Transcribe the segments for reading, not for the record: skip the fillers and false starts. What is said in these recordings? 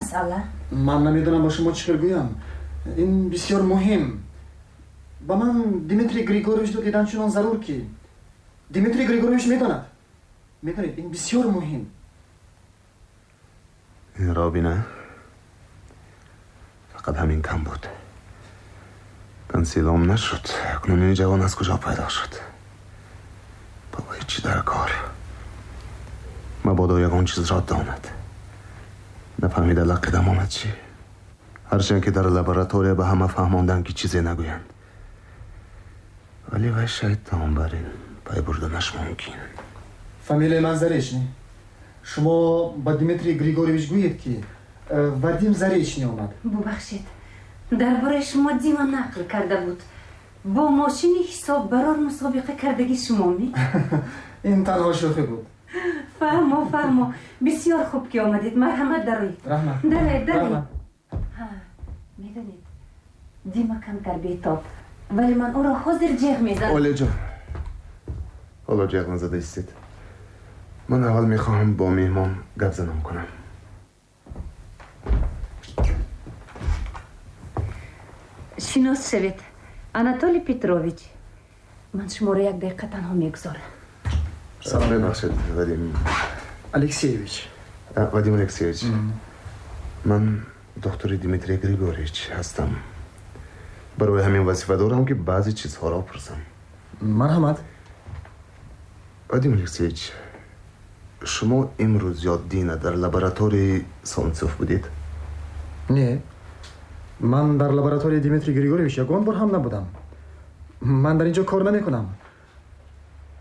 Масъала? Ман намедонам ба шумо чӣ хел гӯям. Ин бисёр муҳим. Ба ман Дмитрий Григорьевичро дидан чунон зарур, ки Дмитрий Григорьевич медонад. Медонед, ин бисёр муҳим. Ин робина фақат ҳамин кам буд. Консилом нашуд. Акнун ин ҷавон аз куҷо пайдо шуд? Ба вай чӣ дар кор? Мабодо ягон чизро донад. Нафаҳмида лақида монад чӣ? Ҳарчанд ки дар лаборатория ба ҳама фаҳмонданд, ки чизе нагӯянд. Вале вай шайтон, бар ин пай бурданаш мумкин. Фамилияи ман Заречный. Шумо ба Дмитрий Григорьевич гӯед, ки Вадим Заречный омад. Бубахшед, дар бораи шумо Дима нақл карда буд. Бо мошини ҳисоббарор мусобиқа кардаги шумо ми? Ин танҳо шӯхӣ буд. Фаҳмо, фаҳмо. Бисёр хуб, ки омадед. Марҳамат, дароед. Раҳмат. Дароед, дароед. Медонед, Дима камтар бетоб, вале ман ӯро ҳозир ҷеғ мезанам. Олияҷон, ҳоло ҷеғ назада истед. Ман аввал мехоҳам бо меҳмон гап занам кунам. Шинос шавед, Анатолий Петрович. Ман шуморо як дақиқа танҳо мегузорам. Салом. Бибахшед, Вадим Алексеевич. Вадим Алексеевич, ман доктори Дмитрий Григорьевич ҳастам. Барои ҳамин вазифа дорам, ки баъзе чизҳоро пурсам. Марҳамат. Вадим Алексеевич, шумо имрӯз ё дина дар лабораторияи Солнцев будед? Не, ман дар лабораторияи Дмитрий Григорьевич ягон бор ҳам набудам. Ман дар ин ҷо кор намекунам.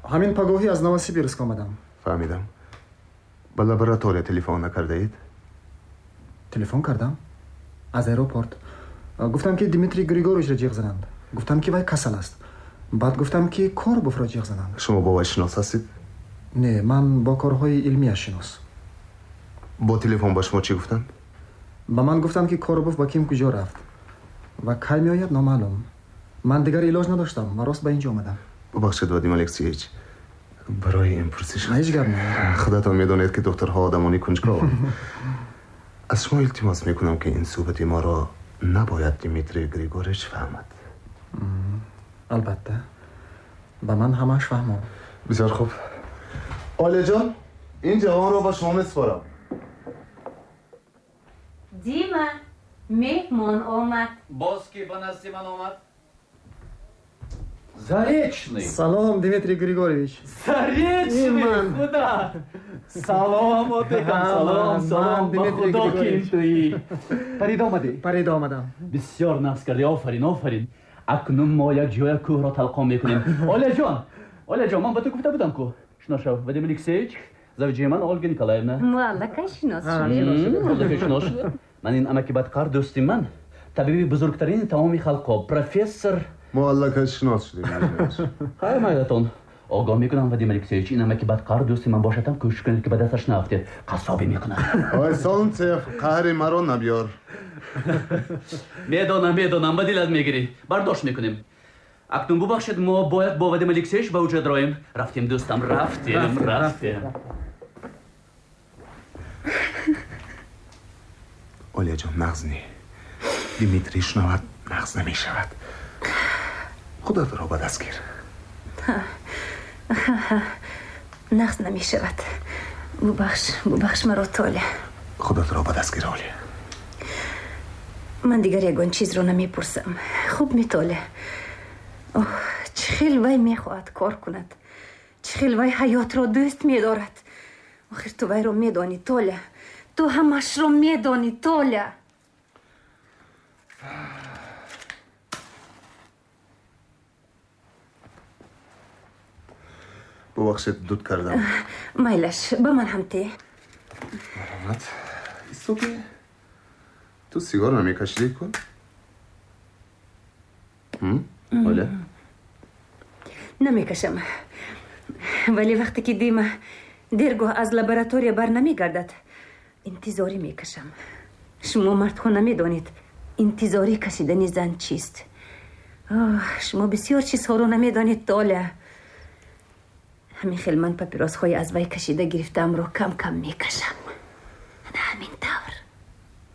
Ҳамин пагоҳӣ аз Новосибирск омадам. Фаҳмидам. Ба лаборатория телефон накардаед? Телефон кардам аз аэропорт. Гуфтам, ки Дмитрий Григорьевичро ҷеғ зананд. Гуфтам, ки вай касал аст. Баъд гуфтам, ки Коробовро ҷеғ зананд. Шумо бо вай шинос ҳастед? Не, ман бо корҳои илмияш шинос. Бо телефон ба шумо чӣ гуфтанд? Ба ман гуфтанд, ки Коробов ба ким куҷо рафт ва кай меояд, номаълум. Ман дигар илоҷ надоштам ва рост ба ин ҷо омадам. Бубахшед, Вадим Алексеевич, барои ин пурсиш. Ҳеҷ гап не. Худатон медонед, ки духтурҳо одамони кунҷкованд. Аз шумо илтимос мекунам, ки ин суҳбати моро набояд Дмитрий Григорьевич фаҳмад. Албатта, ба ман ҳамааш фаҳмо. Бисёр хуб. Олияҷон, ин ҷавонро ба шумо месупорам. Дима, меҳмон омад. Боз ки ба назди ман омад? Заречный. Салом, Дмитрий Григорьевич. Заречный, худо. Салом, отекам, салом, салом. Ба худо, ки туи. Парида омадӣ? Парида омадам. Бисёр нафс кардӣ, офарин, офарин. Акнун мо як ҷоя кӯҳро талқон мекунем. Олияҷон, Олияҷон, ман ба ту гуфта будам ку. Шинос шав, Вадим Алексеевич, завҷаи ман Ольга Николаевна. Мо аллакай шинос шудем. Аллакай шинос шудем. Ман ин амаки бадқар дӯсти ман, табиби бузургтарини тамоми халқҳо, профессор. Мо аллакай шинос шудем. Хай, майлатон. Огоҳ мекунам, Вадим Алексеевич, ин амаки бадқар дӯсти ман бошад ҳам, кӯшиш кунед, ки ба дасташ наафтед. Қассобӣ мекунад. Ой, Солнцев, қаҳри маро набиёр. Медонам, медонам, ба дилат мегирӣ. Бардошт мекунем. Акнун бубахшед, мо бояд бо Вадим Алексеевич ба уҷа дароем. Рафтем, дӯстам, рафтем, рафтем. Олияҷон, нағз не. Дмитрий шунавад, нағз намешавад. Худатро ба даст гир. Нағз намешавад. Бубахш, бубахш маро, Толя. Худатро ба даст гир, Олия. Ман дигар ягон чизро намепурсам. Хуб ми, Толя? Оҳ, чӣ хел вай мехоҳад кор кунад, чӣ хел вай ҳаётро дӯст медорад. Охир ту вайро медонӣ, Толя. Ту ҳамашро медонӣ, Толя. Бубахшед, дуд кардам. Майлаш, ба ман ҳам те. Марҳамат. Истоки, ту сигор намекашидӣ ку? Оля? Намекашам, вале вақте ки Дима дергоҳ аз лаборатория бар намегардад, интизорӣ мекашам. Шумо мардҳо намедонед, интизорӣ кашидани зан чист. Шумо бисёр чизҳоро намедонед, Толя. Ҳамин хел ман папиросҳои аз вай кашида гирифтаамро кам кам мекашам.